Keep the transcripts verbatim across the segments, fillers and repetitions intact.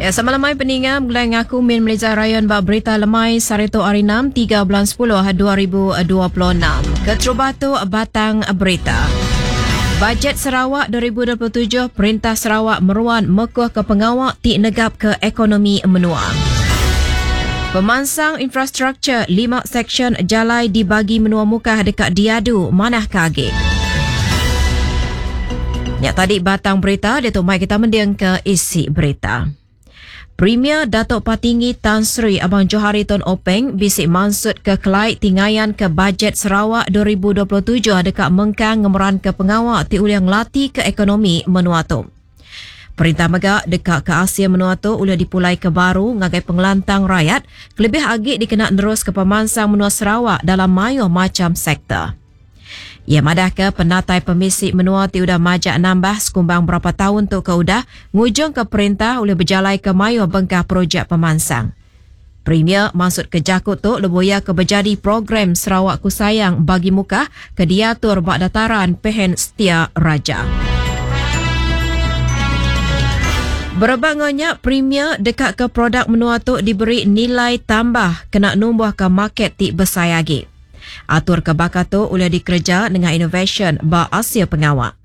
Ya, sama lemai peninga mulai ngaku Min Melisa Rayon bak berita lemai Sarito hari enam tiga bulan sepuluh dua ribu dua puluh enam. Keterubah tu batang berita. Bajet Sarawak dua ribu dua puluh tujuh, Perintah Sarawak meruan mekuh ke pengawak ti negap ke ekonomi menua. Pemansang infrastruktur lima seksyen jalai dibagi menua Mukah dekat diadu manah kage. Ya, tadi batang berita dia tu mai kita mending ke isi berita. Premier Datuk Patinggi Tan Sri Abang Johari Tun Openg bisik mansut ke kelai tingayan ke bajet Sarawak dua ribu dua puluh tujuh dekat mengkang ngemeran ke pengawak ti uliang lati ke ekonomi menua tu. Perintah mega dekat ke Asia menua tu uliang dipulai ke baru ngagai pengelantang rakyat kelebih agi dikena nerus ke pemansang menua Sarawak dalam mayuh macam sektor. Ia madah ke penatai pemisi menua ti udah majak nambah sekumbang berapa tahun tu ke udah ngujung ke perintah oleh berjalai ke mayuh bengkah projek pemansang. Premier maksud ke jakut tu lebuya ke berjadi program Sarawak Ku Sayang bagi Mukah ke diatur bak dataran Pehen Setia Raja. Berebak ngonya Premier dekat ke produk menua tu diberi nilai tambah kena numbuh ke market ti besar lagi. Atur ke bakal tu boleh dikerja dengan innovation ba Asia pengawak.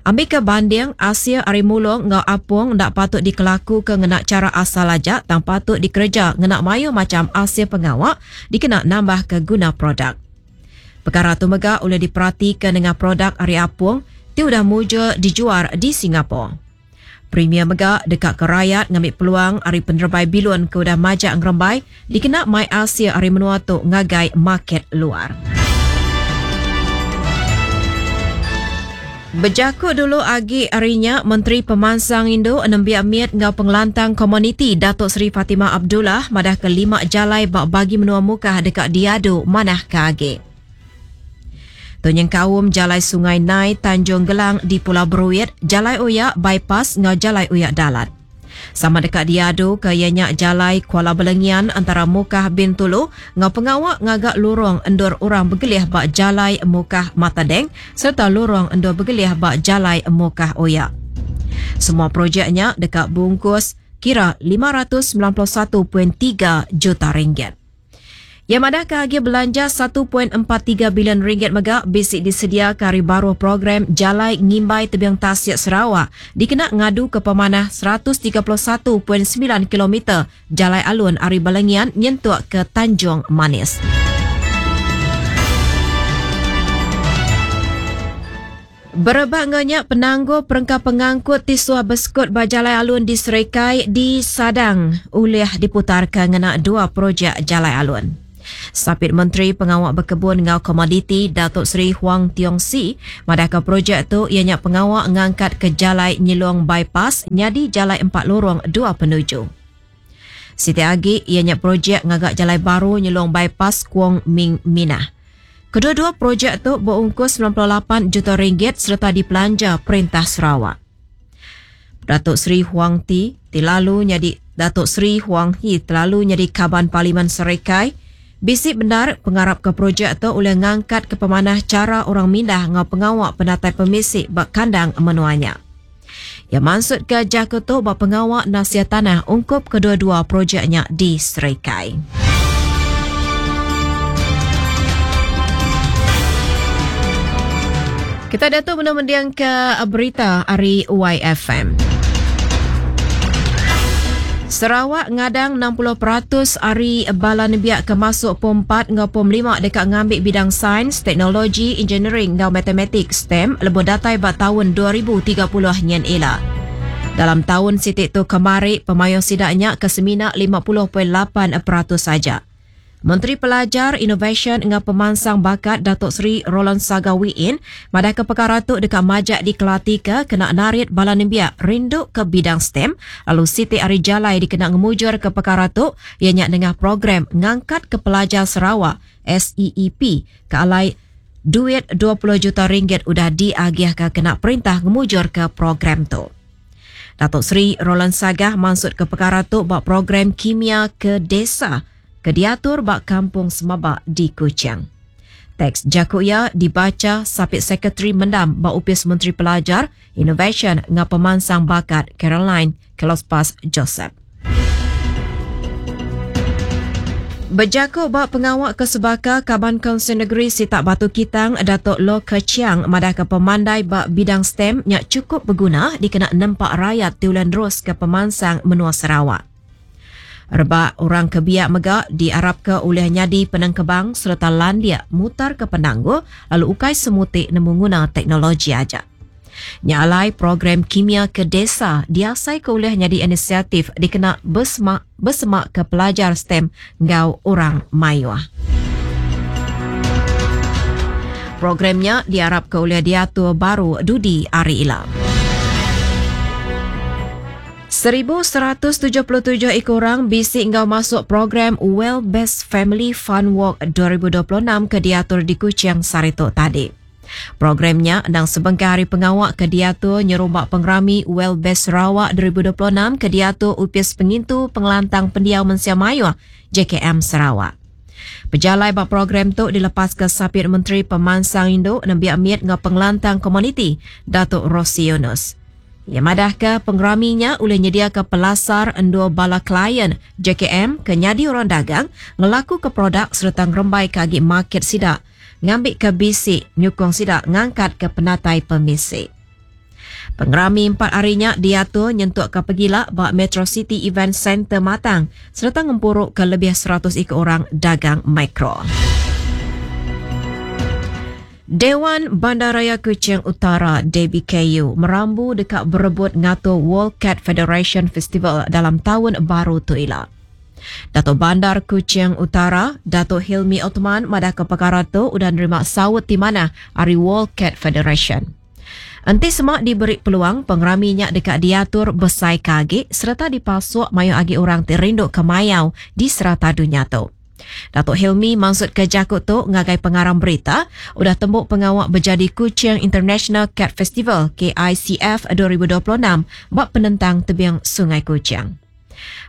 Ambil ke banding Asia ari mulung ngau apung ndak patut dikelaku ke ngena cara asal aja tang patut dikerja ngena mayu macam Asia pengawak dikena nambah ke guna produk. Perkara tu mega boleh diperhatikan dengan produk ari apung ti udah mujur dijual di Singapura. Premier mega dekat ke rakyat ngambil peluang ari penerbai bilun ke udah majak ngerembai dikena mai Asia ari menua tu ngagai market luar. Berjakut dulu agi harinya Menteri Pemansang Indo Nembiak Miet ngau Pengelantang Komuniti Datuk Seri Fatimah Abdullah madah ke lima jalai bak bagi menua Mukah dekat diadu manah ke agi. Tunyeng kaum Jalai Sungai Nai Tanjung Gelang di Pulau Beruit, Jalai Oyak Bypass ngau Jalai Oyak Dalat. Sama dekat diadu ke ianya Jalai Kuala Belengian antara Mukah Bintulu ngau pengawak ngagak lorong endur orang bergelih bak Jalai Mukah Matadeng serta lorong endur bergelih bak Jalai Mukah Oyak. Semua projeknya dekat bungkus kira lima ratus sembilan puluh satu perpuluhan tiga juta ringgit. Yang madah ke harga belanja satu perpuluhan empat tiga bilion ringgit mega bisik disedia ke hari baru program Jalai Ngimbai Tebiang Tasik Sarawak dikena ngadu ke pemanah seratus tiga puluh satu perpuluhan sembilan kilometer Jalai Alun Ari Balengian nyentuk ke Tanjung Manis. Berebak nganyak penangguh perengka pengangkut tisuah beskut bajalai alun di Serikai di Sadang ulih diputarkan ngena dua projek Jalai Alun. Sapit Menteri Pengawak Berkebun ngau Komoditi Datuk Seri Huang Tiong Si madah ke projek tu ianya pengawak ngangkat ke Jalai Nyilong Bypass nyadi Jalai Empat Lorong Dua Penuju. Siti agi ianya projek ngagak Jalai Baru Nyilong Bypass Kuang Ming Minah. Kedua-dua projek tu berungkus sembilan puluh lapan juta ringgit serta dipelanja Perintah Sarawak. Datuk Seri Huang Ti terlalu nyadi Datuk Seri Huang Hi terlalu nyadi kaban Parlimen Serikai. Bisik benar pengarap ke projek tu oleh ngangkat ke pemanah cara orang mindah ngau pengawak penatai pemisik bak kandang menuanya. Ya maksud ke jaku tu bak pengawak nasihat tanah ungkup kedua-dua projeknya di Serikai. Kita dah tu mendiang ke berita hari Y F M. Sarawak ngadang enam puluh peratus ari bala nebiak ke masuk pom empat ngau pom lima dekat ngambil bidang sains, teknologi, engineering ngau matematik STEM lebuh datai bak tahun dua ribu tiga puluh nyen ila. Dalam tahun sitik tu kemari pemayung sidaknya ke semina lima puluh perpuluhan lapan peratus saja. Menteri Pelajar, Inovasi ngau Pemansang Bakat Datuk Seri Roland Sagah Wee Inn madah ke perkara tu dekat majak dikelati ke kena narit bala nembiak rindu ke bidang STEM lalu Siti Ari Jalai dikena ngemujur ke perkara tu ianya nengah program ngangkat ke pelajar Sarawak S E E P ke alai duit dua puluh juta ringgit udah diagih ke kena perintah ngemujur ke program tu. Datuk Seri Roland Sagah maksud ke perkara tu bak program kimia ke desa ke diatur bak Kampung Semabak di Kuching. Teks Jakuya dibaca Sapit Sekretari Mendam bak Upis Menteri Pelajar, Innovation ngau Pemansang Bakat Caroline Kelospas Joseph. Bejaku ba pengawa ke sebaka Kaban Kaunsil Negeri Sitak Batu Kitang Datuk Lo Khere Chiang madahka pemandai ba bidang STEM nya chukup beguna dikena nempa rayat ti ulih neruska pemansang menua Sarawak. Rebak orang ke biak mega diarapka ulih nyadi penengkebang sereta landik mutarka penanggul lalu ukai semuti nemu nguna teknologi aja. Nya alai program Kimia ke Desa diasai ke ulih nyadi inisiatif dikena besemak besemak ke pelajar STEM enggau orang mayuh. Program nya diarapka ulih diatur baru dudi hari ila. Seribu seratus tujuh puluh tujuh iku orang bisi enggau masuk program Well Best Family Fun Walk dua ribu dua puluh enam ke diatur di Kuching sehari tu tadi. Program nya endang sebengkah hari pengawa ke diatur nyerumba pengerami Well Best Sarawak dua ribu dua puluh enam ke diatur Opis Pengintu Pengelantang Pendiau Mensia Mayuh J K M Sarawak. Pejalai ba program tu dilepas ke Sapit Menteri Pemansang Indu Nembiak Mit enggau Pengelantang Komuniti Datuk Rosey Yunus. Ia madahka pengerami nya ulih nyediaka pelasar endur bala klien J K M ke nyadi orang dagang ngelaku ke produk sereta ngerembai ke agi market sida ngambi ke bisi nyukung sida ngangkat ke penatai pemisi. Pengerami empat hari nya diatur nyentuk ke pegila ba Metro City Event Center Matang sereta ngempuru ke lebih seratus iku orang dagang mikro. Dewan Bandaraya Kuching Utara D B K U merambu dekat berebut ngatur World Cat Federation Festival dalam tahun baru tu ila. Datuk Bandar Kuching Utara, Datuk Hilmi Othman madah ke perkara tu udah nerima saut di mana hari World Cat Federation. Enti semak diberi peluang, pengeraminya dekat diatur besai kagi serta dipasuk mayu agi orang ti rindu ke mayau di serata dunia tu. Datuk Hilmi maksud ke jakut tu ngagai pengarang berita udah tembuk pengawak berjadi Kuching International Cat Festival K I C F dua ribu dua puluh enam bak penentang tebing Sungai Kuching.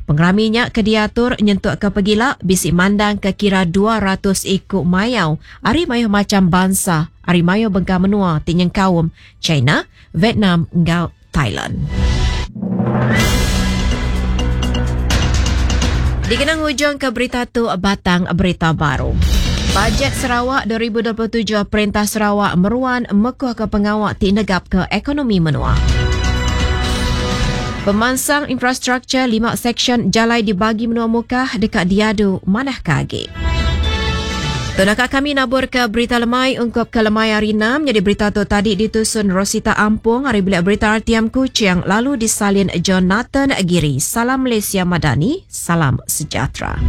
Pengeraminya ke diatur nyentuk ke pegila bisi mandang ke kira dua ratus iku mayau ari mayuh macam bangsa ari mayuh bengkah menua ti nyengkaum China, Vietnam enggau Thailand. Dikenang hujung ke berita tu batang berita baru. Bajet Sarawak dua ribu dua puluh tujuh Perintah Sarawak meruan mekuh ke pengawak ti negap ke ekonomi menua. Pemansang infrastruktur lima seksyen jalai dibagi menua Mukah dekat diadu manah kagi. Tunaka kami nabur ke berita lemai ungkup ke lemai hari enam. Jadi berita tu tadi ditusun Rosita Ampung hari bilik berita R T M Kuching lalu disalin Jonathan Giri. Salam Malaysia Madani, salam sejahtera.